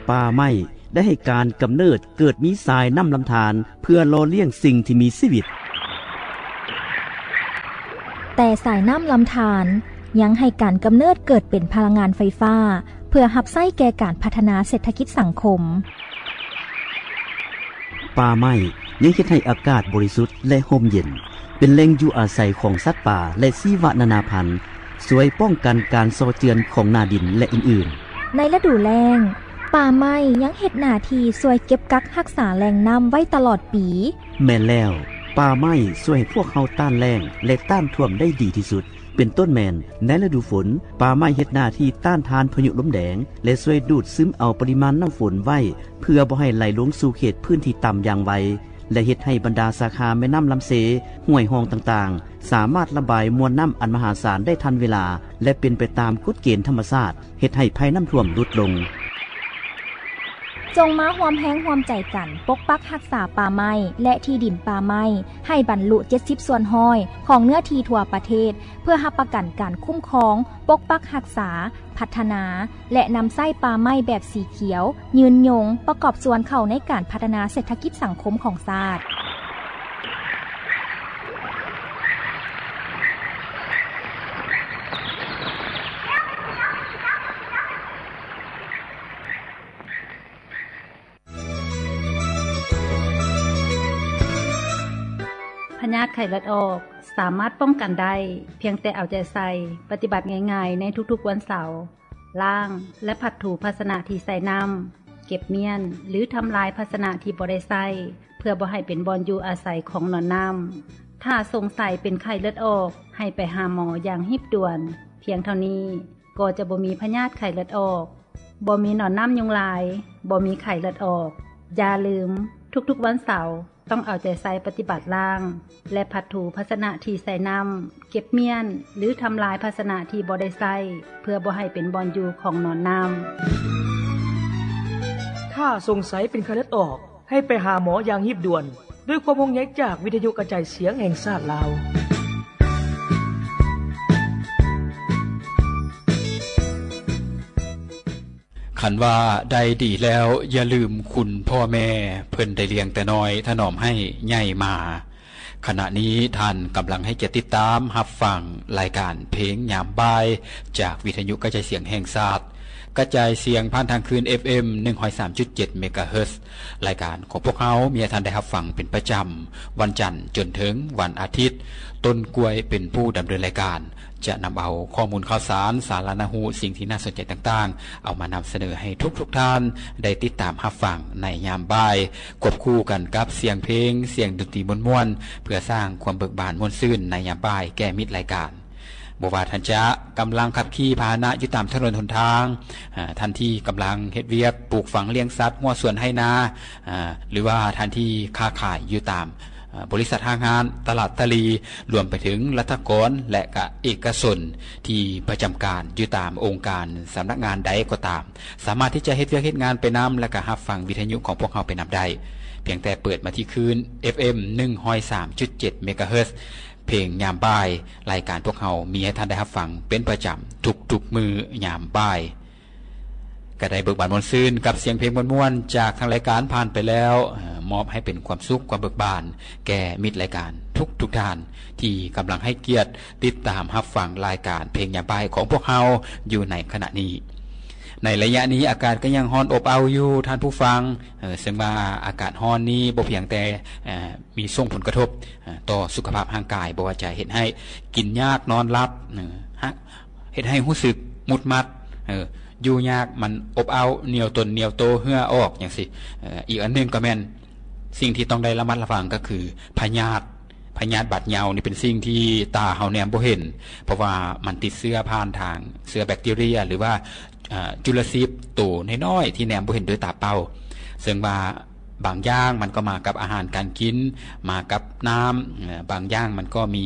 ປ່າໄມ້ໄດ້ໃຫ້ການກຳເນີດເກີດມີສາຍນ້ຳລຳທານ ເພື່ອຫຼໍ່ລ້ຽງສິ່ງທີ່ມີຊີວິດ. ແຕ່ສາຍນ້ຳລຳທານຍັງໃຫ້ການກຳເນີດເກີດເປັນພະລັງງານໄຟຟ້າ ເພື່ອຮັບໃຊ້ແກ່ການພັດທະນາເສດຖະກິດສັງຄົມ. ປ່າໄມ້ຍັງເຮັດໃຫ້ອາກາດບໍລິສຸດ ແລະ ຮົ່ມເຢັນ, ເປັນແຫຼ່ງຢູ່ອາໄສຂອງສັດປ່າ ແລະ ຊີວະນານາພັນ, ຊ່ວຍປ້ອງກັນການເຊາະເຈື່ອນຂອງໜ້າດິນ ແລະ ອື່ນໆ. ໃນລະດູແລ້ງ, ປ່າໄມ້ຍັງເຮັດໜ້າທີ່ຊ່ວຍເກັບກັກຮັກສາແຫຼ່ງນ້ຳໄວ້ຕະຫຼອດປີ. ແມ່ນແລ້ວ, ປ່າໄມ້ຊ່ວຍໃຫ້ພວກເຮົາຕ້ານແລ້ງ ແລະ ຕ້ານຖ້ວມໄດ້ດີທີ່ສຸດ. ເປັນຕົ້ນແມ່ນ ໃນລະດູຝົນ, ປ່າໄມ້ເຮັດໜ້າທີ່ຕ້ານທານພາຍຸລົມແດງ ແລະ ຊ່ວຍດູດຊຶມເອົາປະລິມານນ້ຳຝົນໄວ້ ເພື່ອບໍ່ໃຫ້ໄຫຼລົງສູ່ເຂດພື້ນທີ່ຕ່ຳຢ່າງໄວ ແລະ ເຮັດໃຫ້ບັນດາສາຂາແມ່ນ້ຳລຳເຊ, ຫ້ວຍຮ່ອງຕ່າງໆ ສາມາດລະບາຍມວນນ້ຳອັນມະຫາສານໄດ້ທັນເວລາ ແລະ ເປັນໄປຕາມກົດເກນທຳມະຊາດ, ເຮັດໃຫ້ໄພນ້ຳຖ້ວມຫຼຸດລົງ. ຈົ່ງມາຮ່ວມແຮງຮ່ວມໃຈກັນປົກປັກຮັກສາປ່າໄມ້ ແລະ ທີ່ດິນປ່າໄມ້ ໃຫ້ບັນລຸເຈັດສິບສ່ວນຮ້ອຍຂອງເນື້ອທີ່ທົ່ວປະເທດ ເພື່ອຮັບປະກັນການຄຸ້ມຄອງ, ປົກປັກຮັກສາ, ພັດທະນາ ແລະ ນຳໃຊ້ປ່າໄມ້ແບບສີຂຽວ, ຍືນຍົງ, ປະກອບສ່ວນເຂົ້າໃນການພັດທະນາເສດຖະກິດສັງຄົມຂອງຊາດ. ພະຍາດໄຂ້ເລືອດອອກສາມາດປ້ອງກັນໄດ້ ພຽງແຕ່ເອົາໃຈໃສ່ ປະຕິບັດງ່າຍໆໃນທຸກໆວັນເສົາ, ລ້າງ ແລະ ພັດຖູພາຊະນະທີ່ໃສ່ນ້ຳ, ເກັບມ້ຽນ ຫຼື ທຳລາຍພາຊະນະທີ່ບໍ່ໄດ້ໃຊ້ ເພື່ອບໍ່ໃຫ້ເປັນບ່ອນຢູ່ອາໄສຂອງໜອນນ້ຳ. ຖ້າສົງໄສເປັນໄຂ້ເລືອດອອກ, ໃຫ້ໄປຫາໝໍຢ່າງຮີບດ່ວນ. ພຽງເທົ່ານີ້ ກໍຈະບໍ່ມີພະຍາດໄຂ້ເລືອດອອກ, ບໍ່ມີໜອນນ້ຳຍຸງລາຍ, ບໍ່ມີໄຂ້ເລືອດອອກ. ຢ່າລືມ, ທຸກໆວັນເສົາ ຕ້ອງເອົາໃຈໃສ່ປະຕິບັດລ້າງ ແລະ ພັດຖູພາຊະນະທີ່ໃສ່ນ້ຳ, ເກັບມ້ຽນ ຫຼື ທຳລາຍພາຊະນະທີ່ບໍ່ໄດ້ໃຊ້ ເພື່ອບໍ່ໃຫ້ເປັນບ່ອນຢູ່ຂອງໜອນນ້ຳ. ຖ້າສົງໄສເປັນໄຂ້ເລືອດອອກ, ໃຫ້ໄປຫາໝໍຢ່າງຮີບດ່ວນ. ດ້ວຍຄວາມຫ່ວງໃຍຈາກວິທະຍຸກະຈາຍສຽງແຫ່ງຊາດລາວ. ຄັນວ່າໄດ້ດີແລ້ວ, ຢ່າລືມຄຸນພໍ່ແມ່, ເພິ່ນໄດ້ລ້ຽງແຕ່ນ້ອຍ, ຖະໜອມໃຫ້ໃຫຍ່ມາ. ຂະນະນີ້ທ່ານກຳລັງໃຫ້ກຽດຕິດຕາມຮັບຟັງລາຍການເພງຍາມບ່າຍ ຈາກວິທະຍຸກະຈາຍສຽງແຫ່ງຊາດ. ກະຈາຍສຽງຜ່ານທາງຄື້ນ ເອັຟເອັມ ໜຶ່ງຮ້ອຍສາມຈຸດເຈັດ ເມກາເຮີດ. ລາຍການຂອງພວກເຮົາມີໃຫ້ທ່ານໄດ້ຮັບຟັງເປັນປະຈຳ ວັນຈັນຈົນເຖິງວັນອາທິດ. ຕົ້ນກ້ວຍເປັນຜູ້ດຳເນີນລາຍການ, ຈະນຳເອົາຂໍ້ມູນຂ່າວສານ, ສາລະໜະຮູ້, ສິ່ງທີ່ໜ້າສົນໃຈຕ່າງໆ ເອົາມານຳສະເໜີໃຫ້ທຸກໆທ່ານໄດ້ຕິດຕາມຮັບຟັງໃນຍາມບ່າຍ, ຄວບຄູ່ກັນກັບສຽງເພງ, ສຽງດົນຕີມ່ວນໆ ເພື່ອສ້າງຄວາມເບີກບານມ່ວນຊື່ນໃນຍາມບ່າຍແກ່ມິດລາຍການ. ບໍ່ວ່າທ່ານຈະກຳລັງຂັບຂີ່ພາຫະນະຢູ່ຕາມຖະໜົນຫົນທາງ, ອາ, ທ່ານທີ່ກຳລັງເຮັດວຽກປູກຝັງລ້ຽງສັດ, ຮົ້ວສວນໄຮ່ນາ, ອາ, ຫຼືວ່າທ່ານທີ່ຄ້າຂາຍຢູ່ຕາມ, ອາ, ບໍລິສັດຫ້າງຮ້ານ, ຕະຫຼາດຕະຫຼີ່, ລວມໄປເຖິງລັດຖະກອນ ແລະ ກະເອກະຊົນທີ່ປະຈຳການຢູ່ຕາມອົງການສຳນັກງານໃດກໍຕາມ, ສາມາດທີ່ຈະເຮັດວຽກເຮັດງານໄປນຳ ແລະ ກະຮັບຟັງວິທະຍຸຂອງພວກເຮົາໄປນຳໄດ້. ພຽງແຕ່ເປີດມາທີ່ຄື້ນ ເອັຟເອັມ ໜຶ່ງຮ້ອຍສາມຈຸດເຈັດ ເມກາເຮີດ. ເພງຍາມບ່າຍ, ລາຍການພວກເຮົາມີໃຫ້ທ່ານໄດ້ຮັບຟັງເປັນປະຈຳທຸກໆມື້ຍາມບ່າຍ. ກະໄດ້ເບີກບານມ່ວນຊື່ນກັບສຽງເພງມ່ວນໆຈາກທາງລາຍການຜ່ານໄປແລ້ວ, ມອບໃຫ້ເປັນຄວາມສຸກຄວາມເບີກບານແກ່ມິດລາຍການທຸກໆທ່ານທີ່ກຳລັງໃຫ້ກຽດຕິດຕາມຮັບຟັງລາຍການເພງຍາມບ່າຍຂອງພວກເຮົາຢູ່ໃນຂະນະນີ້. ໃນໄລຍະນີ້ອາກາດກໍຍັງຮ້ອນອົບເອົ້າຢູ່ທ່ານຜູ້ຟັງ, ເຊິ່ງວ່າອາກາດຮ້ອນນີ້ບໍ່ພຽງແຕ່ ມີສົ່ງຜົນກະທົບ ເອີ ຕໍ່ສຸຂະພາບຮ່າງກາຍ, ບໍ່ວ່າຈະເຮັດໃຫ້ກິນຍາກນອນຫຼັບ, ເອີ ເຮັດໃຫ້ຮູ້ສຶກໝຸດໝັດ, ເອີ ຢູ່ຍາກ, ມັນອົບເອົ້າ, ໜຽວຕົນໜຽວໂຕ, ເຫື່ອອອກ ຈັ່ງຊີ້. ເອີ ອີກອັນໜຶ່ງກໍແມ່ນສິ່ງທີ່ຕ້ອງໄດ້ລະມັດລະວັງກໍຄືພະຍາດ, ພະຍາດບາດເຍົານີ້ເປັນສິ່ງທີ່ຕາເຮົາແນມບໍ່ເຫັນ, ເພາະວ່າມັນຕິດເຊື້ອຜ່ານທາງເຊື້ອແບັກທີເຣຍ ຫຼືວ່າ ອາ ຈຸລະຊີບໂຕນ້ອຍໆທີ່ແນມບໍ່ເຫັນດ້ວຍຕາເປົ່າ. ເຊິ່ງວ່າບາງຢ່າງມັນກໍມາກັບອາຫານການກິນ, ມາກັບນ້ຳ, ເອີ ບາງຢ່າງມັນກໍມີ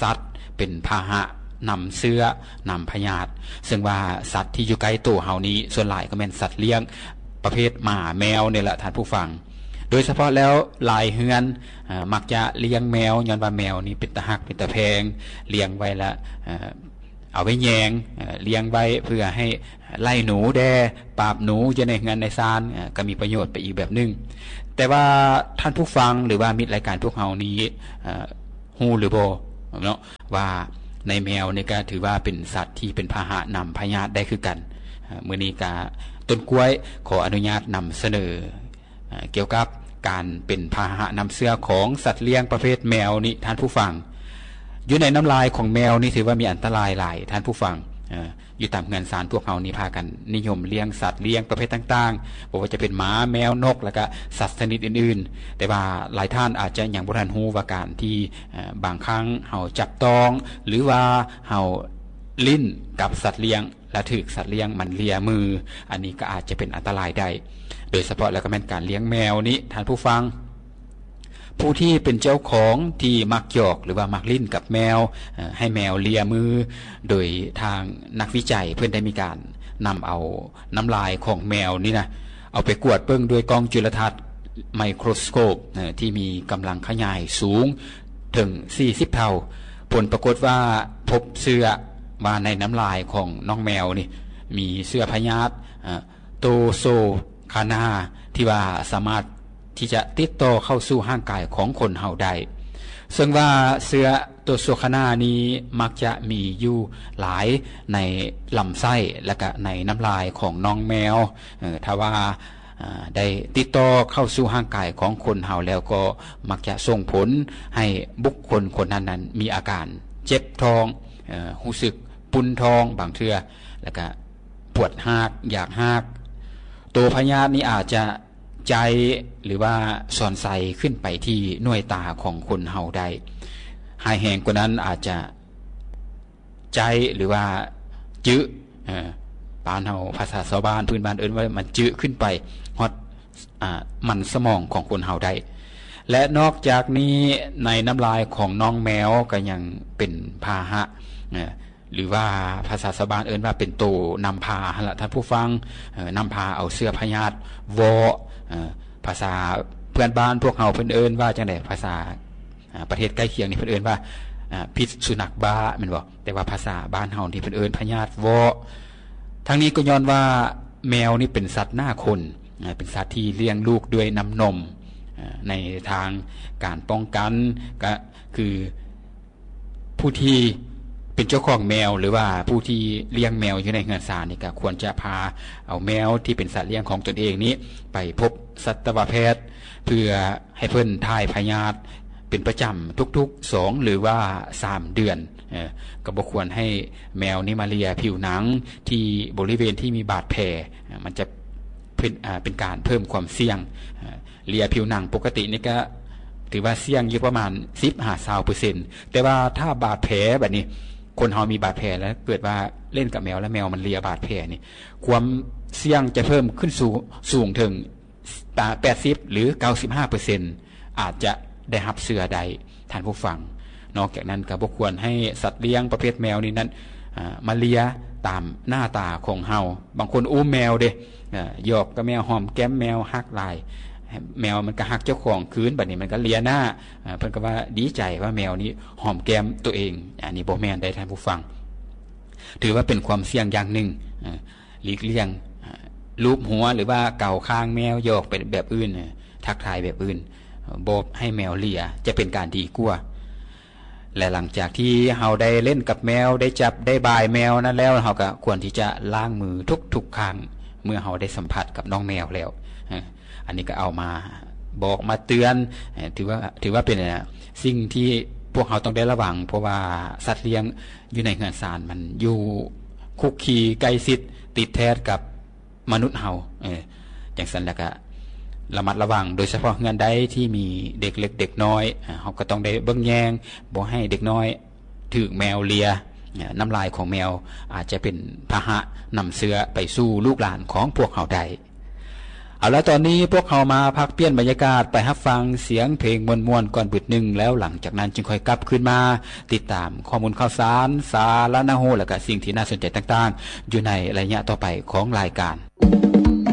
ສັດເປັນພາຫະນຳເຊື້ອ, ນຳພະຍາດ. ເຊິ່ງວ່າສັດທີ່ຢູ່ໃກ້ໂຕເຮົານີ້ ສ່ວນຫຼາຍກໍແມ່ນສັດລ້ຽງປະເພດໝາແມວນີ້ແຫຼະທ່ານຜູ້ຟັງ. ໂດຍສະເພາະແລ້ວຫຼາຍເຮືອນ, ເອີ ມັກຈະລ້ຽງແມວ, ຍ້ອນວ່າແມວນີ້ເປັນຕາຮັກເປັນຕາແພງ, ລ້ຽງໄວ້ລະ, ເອີ ເອົາໄວ້ແຍງ ເອີ ລ້ຽງໄວ້ເພື່ອໃຫ້ໄລ່ໜູແດ່ ປາບໜູຢູ່ໃນເຮືອນໃນຊານ ເອີ ກໍມີປະໂຫຍດໄປອີກແບບໜຶ່ງ. ແຕ່ວ່າທ່ານຜູ້ຟັງ ຫຼືວ່າມິດລາຍການພວກເຮົານີ້ ເອີ ຮູ້ຫຼືບໍ່ເນາະ ວ່າໃນແມວນີ້ກໍຖືວ່າເປັນສັດທີ່ເປັນພາຫະນຳພະຍາດໄດ້ຄືກັນ. ເອີ ມື້ນີ້ກໍຕົ້ນກ້ວຍຂໍອະນຸຍາດນຳສະເໜີ ເອີ ກ່ຽວກັບການເປັນພາຫະນຳເຊື້ອຂອງສັດລ້ຽງປະເພດແມວນີ້ ທ່ານຜູ້ຟັງ. ຢູ່ໃນນ້ຳລາຍຂອງແມວນີ້ຖືວ່າມີອັນຕະລາຍຫຼາຍ ທ່ານຜູ້ຟັງ. ເອີ ຢູ່ຕາມເຮືອນຊານພວກເຮົານີ້ພາກັນນິຍົມລ້ຽງສັດລ້ຽງປະເພດຕ່າງໆ ບໍ່ວ່າຈະເປັນໝາ ແມວ ນົກ ແລ້ວກະສັດຊະນິດອື່ນໆ. ແຕ່ວ່າຫຼາຍທ່ານອາດຈະຍັງບໍ່ທັນຮູ້ວ່າການທີ່ ເອີ ບາງຄັ້ງເຮົາຈັບຕ້ອງ ຫຼືວ່າເຮົາຫຼິ້ນກັບສັດລ້ຽງ ແລະ ຖືກສັດລ້ຽງມັນເລຍມື ອັນນີ້ກໍອາດຈະເປັນອັນຕະລາຍໄດ້. ໂດຍສະເພາະແລ້ວກໍແມ່ນການລ້ຽງແມວນີ້ ທ່ານຜູ້ຟັງ. ຜູ້ທີ່ເປັນເຈົ້າຂອງທີ່ມັກຫຍອກ ຫຼືວ່າມັກຫຼິ້ນກັບແມວ ເອີ ໃຫ້ແມວເລຍມື ໂດຍທາງນັກວິໄຈເພິ່ນໄດ້ມີການນຳເອົານ້ຳລາຍຂອງແມວນີ້ນະ ເອົາໄປກວດເບິ່ງດ້ວຍກ້ອງຈຸລະທັດ ໄມໂຄຣສໂກບ ເອີ ທີ່ມີກຳລັງຂະຫຍາຍສູງເຖິງສີ່ສິບເທົ່າ. ຜົນປາກົດວ່າພົບເຊື້ອ ວ່າໃນນ້ຳລາຍຂອງນ້ອງແມວນີ້ມີເຊື້ອພະຍາດ ເອີ ໂຕໂຊຄານາ ທີ່ວ່າສາມາດທີ່ຈະຕິດຕໍ່ເຂົ້າສູ່ຮ່າງກາຍຂອງຄົນເຮົາໄດ້. ເຊິ່ງວ່າເຊື້ອໂຕໂຊຄານານີ້ມັກຈະມີຢູ່ຫຼາຍໃນລຳໄສ້ ແລະກະໃນນ້ຳລາຍຂອງນ້ອງແມວ. ເອີ ຖ້າວ່າ ເອີ ໄດ້ຕິດຕໍ່ເຂົ້າສູ່ຮ່າງກາຍຂອງຄົນເຮົາແລ້ວ ກໍມັກຈະສົ່ງຜົນໃຫ້ບຸກຄົນຄົນນັ້ນນັ້ນມີອາການເຈັບທ້ອງ ເອີ ຮູ້ສຶກປຸ້ນທ້ອງບາງເທື່ອ ແລະກະ ປວດຮາກ ຢາກຮາກ. ໂຕພະຍາດນີ້ອາດຈະໃຈ ຫຼືວ່າສອນໄຊຂຶ້ນໄປທີ່ໜ່ວຍຕາຂອງຄົນເຮົາໄດ້. ຮ້າຍແຮງກວ່ານັ້ນອາດຈະໃຈ ຫຼືວ່າຈຶ ເອີ ບ້ານເຮົາ ພາສາຊາວບ້ານພື້ນບ້ານເອີ້ນວ່າມັນຈຶຂຶ້ນໄປຮອດ ອາ ມັນສະໝອງຂອງຄົນເຮົາໄດ້. ແລະ ນອກຈາກນີ້ໃນນ້ຳລາຍຂອງນ້ອງແມວກໍຍັງເປັນພາຫະ ເອີ ຫຼືວ່າພາສາຊາວບ້ານເອີ້ນວ່າເປັນໂຕນຳພາຫັ້ນລະທ່ານຜູ້ຟັງ. ເອີ ນຳພາເອົາເຊື້ອພະຍາດວໍ້ ເອີ ພາສາເພື່ອນບ້ານພວກເຮົາເພິ່ນເອີ້ນວ່າຈັ່ງໃດ? ພາສາ ອາ ປະເທດໃກ້ຄຽງນີ້ເພິ່ນເອີ້ນວ່າ ອາ ພິດສຸນັກບ້າແມ່ນບໍ່? ແຕ່ວ່າພາສາບ້ານເຮົານີ້ເພິ່ນເອີ້ນພະຍາດວໍ້. ທັງນີ້ກໍຍ້ອນວ່າແມວນີ້ເປັນສັດໜ້າຄົນ ອາ ເປັນສັດທີ່ລ້ຽງລູກດ້ວຍນ້ຳນົມ. ອາ ໃນທາງການປ້ອງກັນ ກໍຄື ຜູ້ທີ່ເປັນເຈົ້າຂອງແມວ ຫຼືວ່າຜູ້ທີ່ລ້ຽງແມວຢູ່ໃນເຮືອນຊານນີ້ ກໍຄວນຈະພາເອົາແມວທີ່ເປັນສັດລ້ຽງຂອງຕົນເອງນີ້ໄປພົບສັດຕະວະແພດ ເພື່ອໃຫ້ເພິ່ນຖ່າຍພະຍາດເປັນປະຈຳທຸກໆສອງ ຫຼືວ່າສາມເດືອນ. ເອີ ກໍບໍ່ຄວນໃຫ້ແມວນີ້ມາເລຍຜິວໜັງທີ່ບໍລິເວນທີ່ມີບາດແຜ ມັນຈະເປັນ ອາ ເປັນການເພີ່ມຄວາມສ່ຽງ. ເລຍຜິວໜັງປົກກະຕິນີ້ກໍຖືວ່າສ່ຽງຢູ່ປະມານສິບຫາຊາວເປີເຊັນ ແຕ່ວ່າຖ້າບາດແຜບາດນີ້ ຄົນເຮົາມີບາດແຜແລ້ວ ເກີດວ່າຫຼິ້ນກັບແມວ ແລ້ວແມວມັນເລຍບາດແຜນີ້ ຄວາມສ່ຽງຈະເພີ່ມຂຶ້ນສູງ ສູງເຖິງ ແປດສິບ ຫຼື ເກົ້າສິບຫ້າເປີເຊັນ ອາດຈະໄດ້ຮັບເຊື້ອໄດ້ ທ່ານຜູ້ຟັງ. ນອກຈາກນັ້ນກໍບໍ່ຄວນໃຫ້ສັດລ້ຽງປະເພດແມວນີ້ນັ້ນ ອາ ມາເລຍຕາມໜ້າຕາຂອງເຮົາ. ບາງຄົນອຸ້ມແມວເດ້ ອາ ຫຍອກກັບແມວ ຫອມແກ້ມແມວ ຮັກຫຼາຍ ແມວມັນກໍຮັກເຈົ້າຂອງຄືນ ບາດນີ້ມັນກໍເລຍໜ້າ ອາ ເພິ່ນກໍວ່າດີໃຈວ່າແມວນີ້ຫອມແກ້ມຕົວເອງ. ອັນນີ້ບໍ່ແມ່ນໄດ໋ທ່ານຜູ້ຟັງ ຖືວ່າເປັນຄວາມສ່ຽງຢ່າງໜຶ່ງ. ອາ ຫຼີກລ່ຽງ ອາ ລູບຫົວ ຫຼືວ່າເກົາຄາງແມວ ຫຍອກໄປແບບອື່ນ ທັກທາຍແບບອື່ນ ບໍ່ໃຫ້ແມວເລຍ ຈະເປັນການດີກວ່າ. ແລະ ຫຼັງຈາກທີ່ເຮົາໄດ້ຫຼິ້ນກັບແມວ ໄດ້ຈັບໄດ້ບາຍແມວນັ້ນແລ້ວ ເຮົາກໍຄວນທີ່ຈະລ້າງມືທຸກໆຄັ້ງ ເມື່ອເຮົາໄດ້ສຳຜັດກັບນ້ອງແມວແລ້ວ. ເອີ ອັນນີ້ກໍເອົາມາບອກມາເຕືອນ ເອີ ຖືວ່າ ຖືວ່າເປັນ ອາ ສິ່ງທີ່ພວກເຮົາຕ້ອງໄດ້ລະວັງ ເພາະວ່າສັດລ້ຽງຢູ່ໃນເຮືອນຊານ ມັນຢູ່ຄຸກຄີໃກ້ຊິດ ຕິດແທດກັບ ມະນຸດເຮົາ. ເອີ ຈັ່ງຊັ້ນແລ້ວກະລະມັດລະວັງ ໂດຍສະເພາະເຮືອນໃດທີ່ມີເດັກເລັກເດັກນ້ອຍ ເຮົາກໍຕ້ອງໄດ້ເບິ່ງແຍງ ບໍ່ໃຫ້ເດັກນ້ອຍຖືກແມວເລຍ. ນ້ຳລາຍຂອງແມວອາດຈະເປັນພາຫະນຳເຊື້ອໄປສູ່ລູກຫຼານຂອງພວກເຮົາໄດ້. ເອົາລະ ຕອນນີ້ພວກເຮົາມາພັກປ່ຽນບັນຍາກາດ ໄປຮັບຟັງສຽງເພງມ່ວນໆກ່ອນບຶດໜຶ່ງ ແລ້ວຫຼັງຈາກນັ້ນຈຶ່ງຄ່ອຍກັບຄືນມາຕິດຕາມຂໍ້ມູນຂ່າວສານ ສາລະໜ້າຮູ້ ແລະກະສິ່ງທີ່ໜ້າສົນໃຈຕ່າງໆ ຢູ່ໃນໄລຍະຕໍ່ໄປຂອງລາຍການ.